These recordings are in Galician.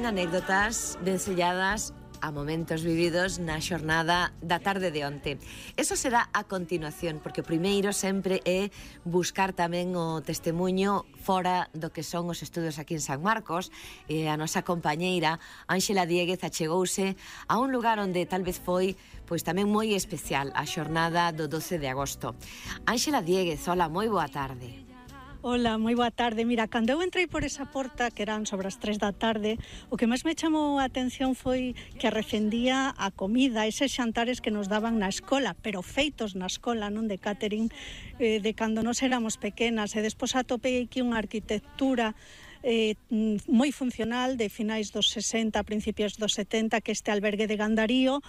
tamén anécdotas ben selladas a momentos vividos na xornada da tarde de onte. Eso será a continuación, porque o primeiro sempre é buscar tamén o testemunho fora do que son os estudos aquí en San Marcos. A nosa compañeira Ánxela Dieguez achegouse a un lugar onde tal vez foi pois tamén moi especial a xornada do 12 de agosto. Ánxela Dieguez, hola, moi boa tarde. Hola, moi boa tarde. Mira, cando eu entrei por esa porta, que eran sobre as 3 da tarde, o que máis me chamou a atención foi que arrefendía a comida, eses xantares que nos daban na escola, pero feitos na escola, non de catering, de cando nos éramos pequenas. E despois atopei aquí unha arquitectura moi funcional de finais dos 60, principios dos 70, que este albergue de Gandarío,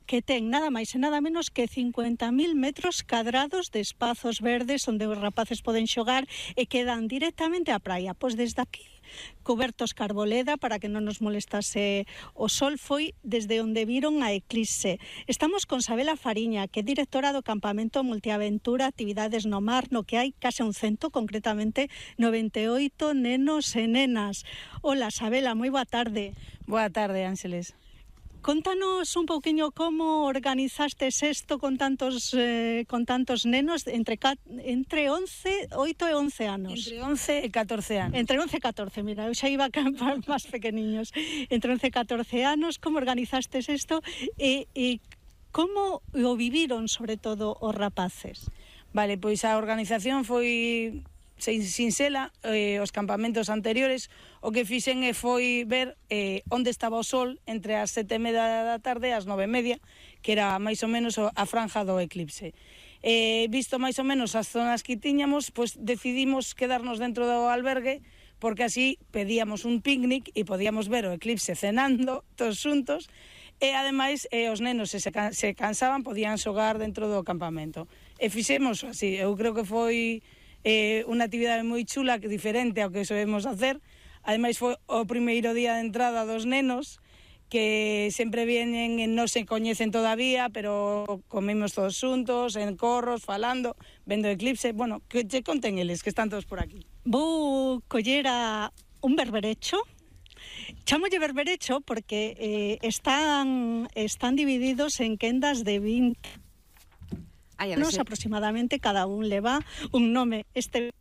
que ten nada máis e nada menos que 50.000 metros cadrados de espazos verdes onde os rapaces poden xogar e quedan directamente á praia. Pois desde aquí, cobertos carboleda para que non nos molestase o sol, foi desde onde viron a eclipse. Estamos con Sabela Fariña, que é directora do campamento Multiaventura Actividades no Mar, no que hai case un cento, concretamente 98 nenos e nenas. Hola, Sabela, moi boa tarde. Boa tarde, Ángeles. Contanos un pouquiño como organizastes isto con tantos nenos entre 8 e 11 anos. Entre 11 e 14 anos. Entre 11 e 14, mira, eu xa iba a campar máis pequeniños. Entre 11 e 14 anos, como organizastes isto e como o viviron, sobre todo, os rapaces? Vale, pois a organización foi sinxela. Os campamentos anteriores o que fixen foi ver onde estaba o sol entre as 7:30 da tarde e as 9:30, que era máis ou menos a franja do eclipse. Visto máis ou menos as zonas que tiñamos, pois decidimos quedarnos dentro do albergue, porque así pedíamos un picnic e podíamos ver o eclipse cenando todos xuntos, e ademais os nenos se cansaban podían xogar dentro do campamento. E fixemos así. Eu creo que foi unha actividade moi chula, diferente ao que solemos hacer. Ademais foi o primeiro día de entrada dos nenos, que sempre vienen e non se coñecen todavía, pero comemos todos xuntos, en corros, falando, vendo o eclipse. Bueno, que che conten eles, que están todos por aquí. Vou coller a un berberecho. Chámolle berberecho porque están divididos en quendas de 20 anos aproximadamente, cada un leva un nome. Este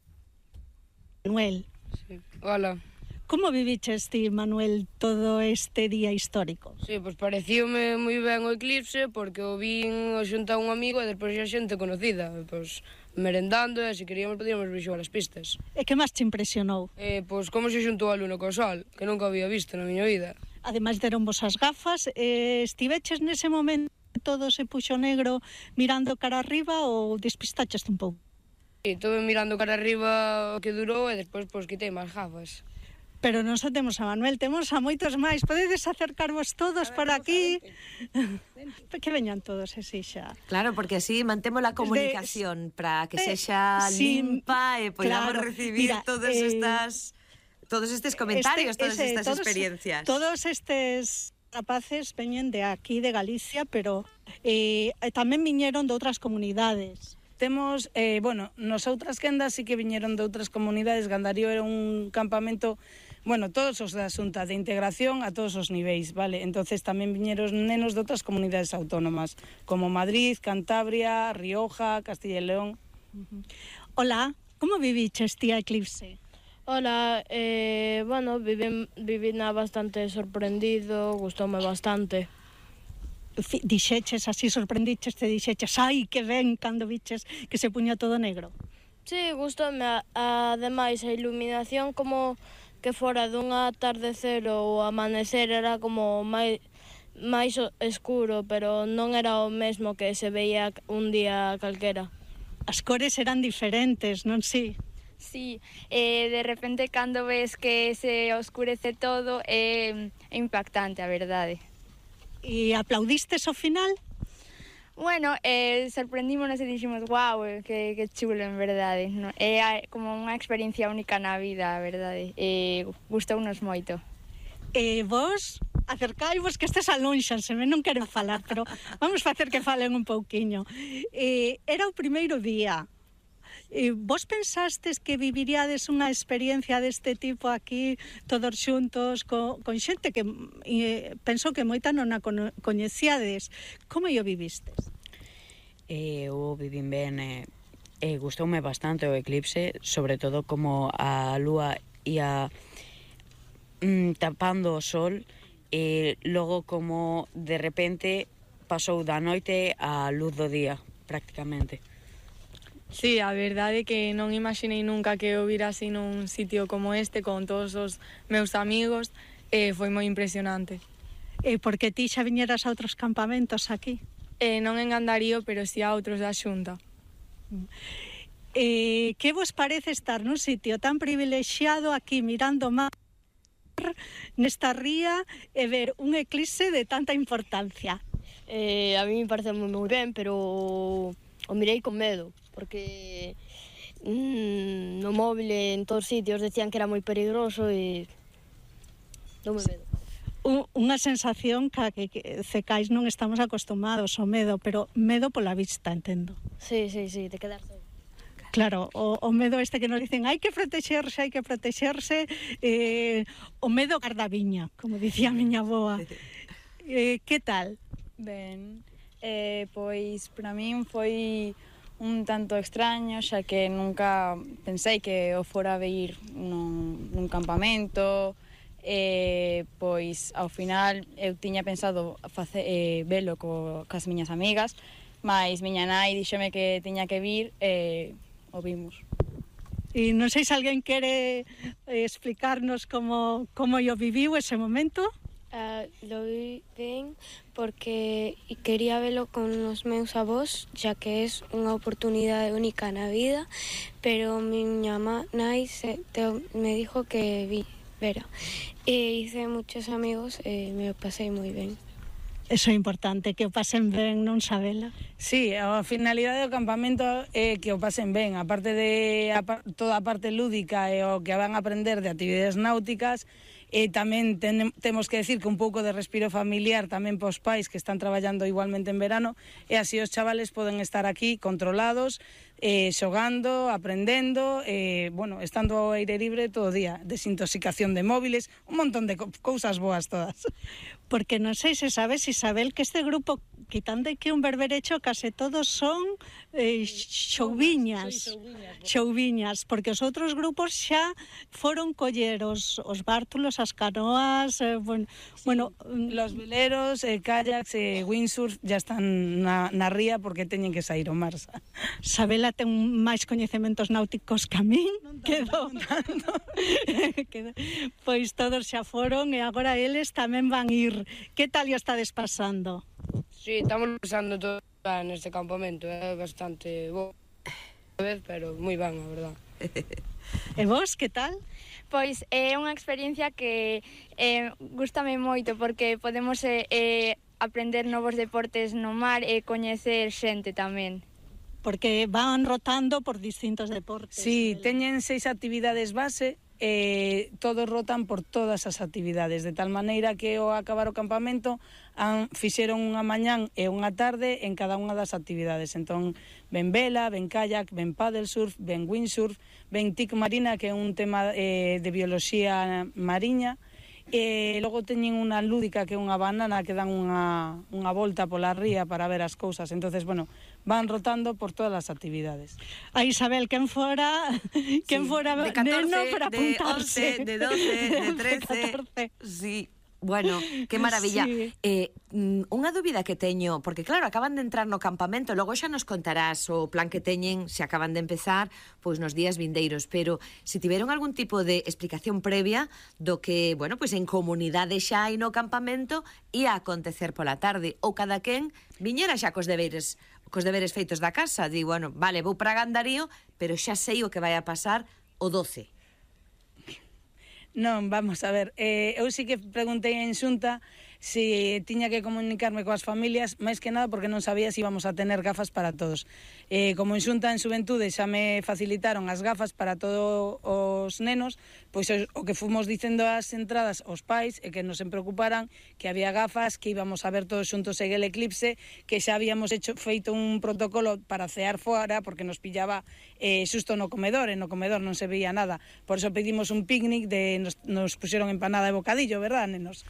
Manuel. Sí. Hola. Como viviches ti, Manuel, todo este día histórico? Sí, pois parecíome moi ben o eclipse, porque o vin xunto a un amigo e despois a xente conocida, pois merendando, e se queríamos podíamos vir xogar as pistas. E que máis te impresionou? Pois como se xuntou a luna co sol, que nunca había visto na miña vida. Ademais deron vos as gafas, estiveches nese momento todo se puxo negro mirando cara arriba ou despistaches un pouco? Sí, estuve mirando cara arriba o que durou e despois pois quitei máis gafas. Pero non só temos a Manuel, temos a moitos máis. Podedes acercarvos todos para aquí? Que veñan todos, así xa. Claro, porque así mantemos a comunicación para que sexa limpa e podamos recibir todos estes comentarios, todas estas experiencias. Todos estes rapaces veñen de aquí, de Galicia, pero tamén viñeron de outras comunidades. Temos, nos outras quendas sí que viñeron de outras comunidades. Gandarío era un campamento, todos os da Xunta de integración a todos os niveis, vale? Entonces tamén viñeron nenos de outras comunidades autónomas, como Madrid, Cantabria, Rioja, Castilla e León. Hola, como viviches ti a eclipse? Hola, viví bastante sorprendido, gustoume bastante. Dixeches así, sorprendiches, te dixeches, ai, que ben, cando viches que se puña todo negro? Sí, gustoume, ademais a iluminación como que fora dun atardecer ou amanecer era como máis escuro, pero non era o mesmo que se veía un día calquera. As cores eran diferentes, non si? Sí, de repente cando ves que se oscurece todo é impactante, a verdade. E aplaudistes ao final? Bueno, sorprendímonos e dixemos, guau, que chulo, en verdade. É como unha experiencia única na vida, a verdade. Gustounos moito. Vos acercaivos, que estes alónxanse, non quero falar, pero vamos facer que falen un pouquiño. Era o primeiro día. Vos pensastes que viviríades unha experiencia deste tipo aquí, todos xuntos, con xente que penso que moita non a coñecíades. Como o vivistes? Eu vivín ben, gustoume bastante o eclipse, sobre todo como a lúa ia tapando o sol, e logo como de repente pasou da noite á luz do día, prácticamente. Sí, a verdade é que non imaginei nunca que o vira así nun sitio como este, con todos os meus amigos, foi moi impresionante. Porque ti xa viñeras a outros campamentos aquí? Non en Andarío, pero si a outros da Xunta. Que vos parece estar nun sitio tan privilexiado aquí mirando mar nesta ría e ver un eclipse de tanta importancia? A mí me parece moi ben, pero o mirei con medo, porque no móvil en todos os sitios decían que era moi peligroso e doume medo. Unha sensación que cecais non estamos acostumados ao medo, pero medo pola vista, entendo. Sí, de quedar solo. Claro, o medo este que nos dicen hai que protexerse, o medo gardaviña, como dicía a miña avoa. Que tal? Ben, pois para min foi un tanto extraño, xa que nunca pensei que o fora a ver nun campamento, pois ao final eu tiña pensado velo cas miñas amigas, mas miña nai díxome que tiña que vir e o vimos. E non sei se alguén quere explicarnos como o viviu ese momento. Lo vi ben porque quería velo con os meus avós, xa que é unha oportunidade única na vida, pero miña nai me dijo que vera. E hice muchos amigos e me pasei moi ben. Eso é importante, que o pasen ben, non sabela. Sí, a finalidade do campamento é que o pasen ben, aparte de toda a parte lúdica e o que van a aprender de actividades náuticas, e tamén temos que decir que un pouco de respiro familiar tamén pos pais que están traballando igualmente en verano, e así os chavales poden estar aquí controlados, xogando, aprendendo, bueno, estando ao aire libre todo o día, desintoxicación de móviles, un montón de cousas boas todas. Porque non sei se sabes, Isabel, que este grupo, quitando que un berberecho, case todos son xouviñas, porque os outros grupos xa foron coller os bártulos, as canoas, bueno, los veleros, kayaks e windsurf ya están na ría porque teñen que sair ao mar. Sabela ten máis coñecementos náuticos que a min, quedou. Pois todos xa foron e agora eles tamén van ir. Que tal o estades pasando? Sí, estamos pasando todo neste campamento, é bastante bo, pero moi ben, a verdad. E vos, que tal? Pois é unha experiencia que gústame moito porque podemos aprender novos deportes no mar e coñecer xente tamén. Porque van rotando por distintos deportes. Sí, teñen 6 actividades base, todos rotan por todas as actividades, de tal maneira que ao acabar o campamento fixeron unha mañán e unha tarde en cada unha das actividades. Entón, ven vela, ven kayak, ven paddle surf, ven windsurf, ven tic marina, que é un tema de bioloxía mariña, e logo teñen unha lúdica que é unha banana que dan unha volta pola ría para ver as cousas. Entonces, bueno, van rotando por todas as actividades. A Isabel, quen fora de 14, neno para apuntarse. De 11, de 13, sí. Bueno, que maravilla. Sí. Unha dúbida que teño, porque claro, acaban de entrar no campamento, logo xa nos contarás o plan que teñen, se acaban de empezar, pois nos días vindeiros, pero se tiveron algún tipo de explicación previa do que, bueno, pois en comunidade xa hai no campamento ia acontecer pola tarde, ou cada quen viñera xa cos deberes feitos da casa, di, bueno, vale, vou para Gandarío, pero xa sei o que vai a pasar o 12. Non, vamos a ver, eu sí que preguntei en Xunta si tiña que comunicarme coas familias, máis que nada porque non sabía se íbamos a tener gafas para todos. Como en Xunta en Xuventude xa me facilitaron as gafas para todos os nenos, pois o que fomos dicendo ás entradas aos pais é que non se preocuparan, que había gafas, que íbamos a ver todos xuntos en el eclipse, que xa habíamos feito un protocolo para cear fora porque nos pillaba xusto no comedor, e no comedor non se veía nada. Por eso pedimos un picnic, nos puxeron empanada e bocadillo, verdad, nenos?